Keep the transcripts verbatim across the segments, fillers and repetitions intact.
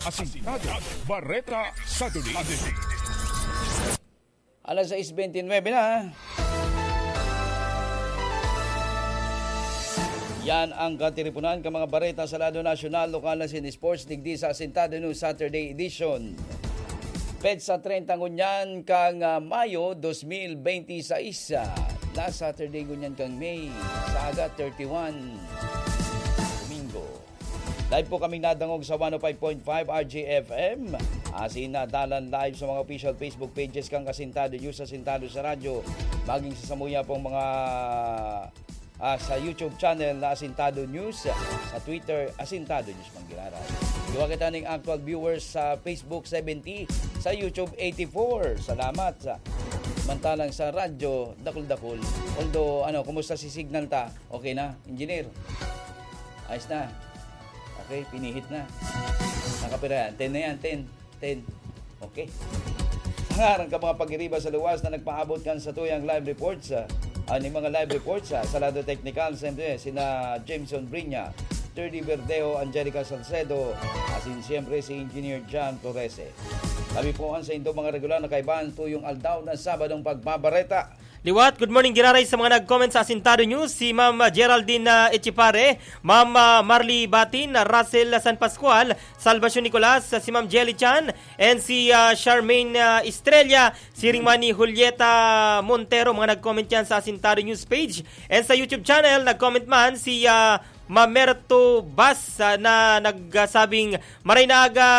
Asintado, Bareta sa Duli. Alas sais bentynwebe na. Yan ang katiriponan kan mga bareta sa lado nasyonal, lokal asin sports digdi sa Asintado News Saturday Edition. Petsa treinta ngunyan kan, ah, Mayo dos mil benti sais. Ah, last Saturday ngunyan kan May, sa aga thirty-one, Domingo. Live po kaming nadangog sa one oh five point five R J F M. Asin na dalan live sa mga official Facebook pages kan Asintado News, Asintado sa Radyo. Maging sa samuya pong mga, ah, sa YouTube channel na Asintado News, sa Twitter, Asintado News man giraray. Duwa kita ning actual viewers sa Facebook, seventy, sa YouTube, eighty-four. Salamat. Sa, mantalang sa radyo, dakul-dakul. Although, ano, kumusta si signal ta? Okay na, engineer? Ayos na. Okay, pinihit na. Nakapira yan. Ten na yan, ten. Ten. Okay. Sa ngaran kan mga pagiriba sa luwas na nagpaabot kan satuyang live reports, ah, ah, ning mga live reports, ah, sa lado teknikal, siyempre, sina Jameson Brinya, Thirdy Verdeo, Angelica Salcedo, asin siyempre si Engineer John Torrese. Kami po an saindo mga regular na kaibahan tuyong aldaw na Sabadong pagbabareta. Liwat, good morning, giraray sa mga nag-comment sa Asintado News, si Ma'am, ah, Geraldine, ah, Echipare, Ma'am, ah, Marley Batin, ah, Russell, ah, San Pascual, Salvacion Nicolas, ah, si Ma'am Jelly Chan, and si, ah, Charmaine, ah, Estrella, siring man ni Julieta Montero, mga nag-comment yan sa Asintado News page. And sa YouTube channel, nag-comment man si, ah, Mamerto Bas, ah, na nagsabing, "Maray na aga,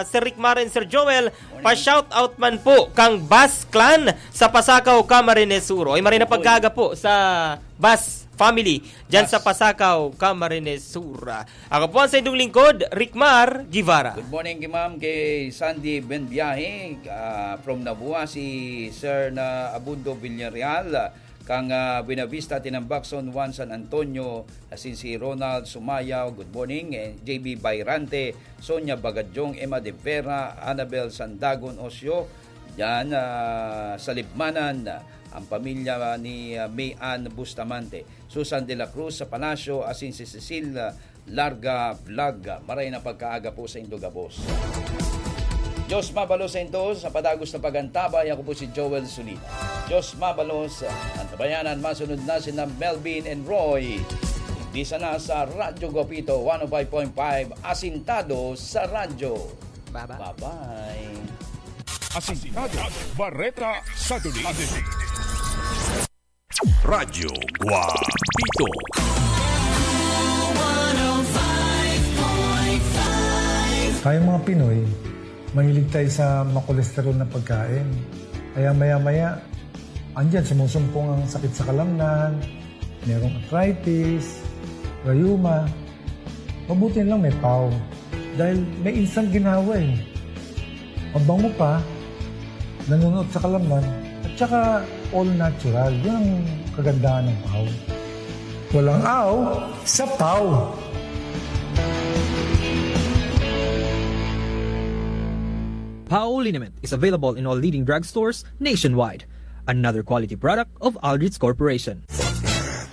Sir Rick Mar and Sir Joel, pa-shout out man po kang Bas Clan sa Pasacao, Camarines Sur." Oy, maray na pagkaaga po sa Bas family dyan sa Pasacao, Camarines Sur. Ako po ang sa inyong lingkod, Rick Mar Guevara. Good morning kay Ma'am, kay Sandy Benbiahe, ah, from Nabua, si Sir na Abundo Villarreal, kang, ah, Buenavista, Tinambac, Zone one, San Antonio, asin si Ronald Sumayaw, good morning, eh, J B Bayrante, Sonia Bagadyong, Emma de Vera, Annabel Sandagon Osio, diyan, ah, sa Libmanan, ang pamilya ni, ah, May Ann Bustamante, Susan de la Cruz sa Palasyo, asin si Cecil, ah, Larga Vlog. Maray na pagkaaga po sa indo gabos. Diyos mabalos sa indo sa padagos na pag-antabay. Ako po si Joel Solina. Diyos mabalos. Antabayanan, masunod na sina Melvin and Roy. Di sana sa Radyo Guapito, one oh five point five, Asintado sa Radyo. Bye-bye. Bye-bye. Asintado, Bareta sa Duli. Radyo Guapito. Tayong mga Pinoy, mahilig tayo sa makolesterol na pagkain. Kaya maya-maya, andyan, sumusumpong ang sakit sa kalamnan, merong arthritis, rayuma. Mabuti lang may pau. Dahil may insang ginawa eh. Mabango pa, nanunuot sa kalamnan, at saka all natural. Yun ang kagandahan ng pau. Walang aw sa pau. Pau liniment is available in all leading drugstores nationwide. Another quality product of Aldrich Corporation.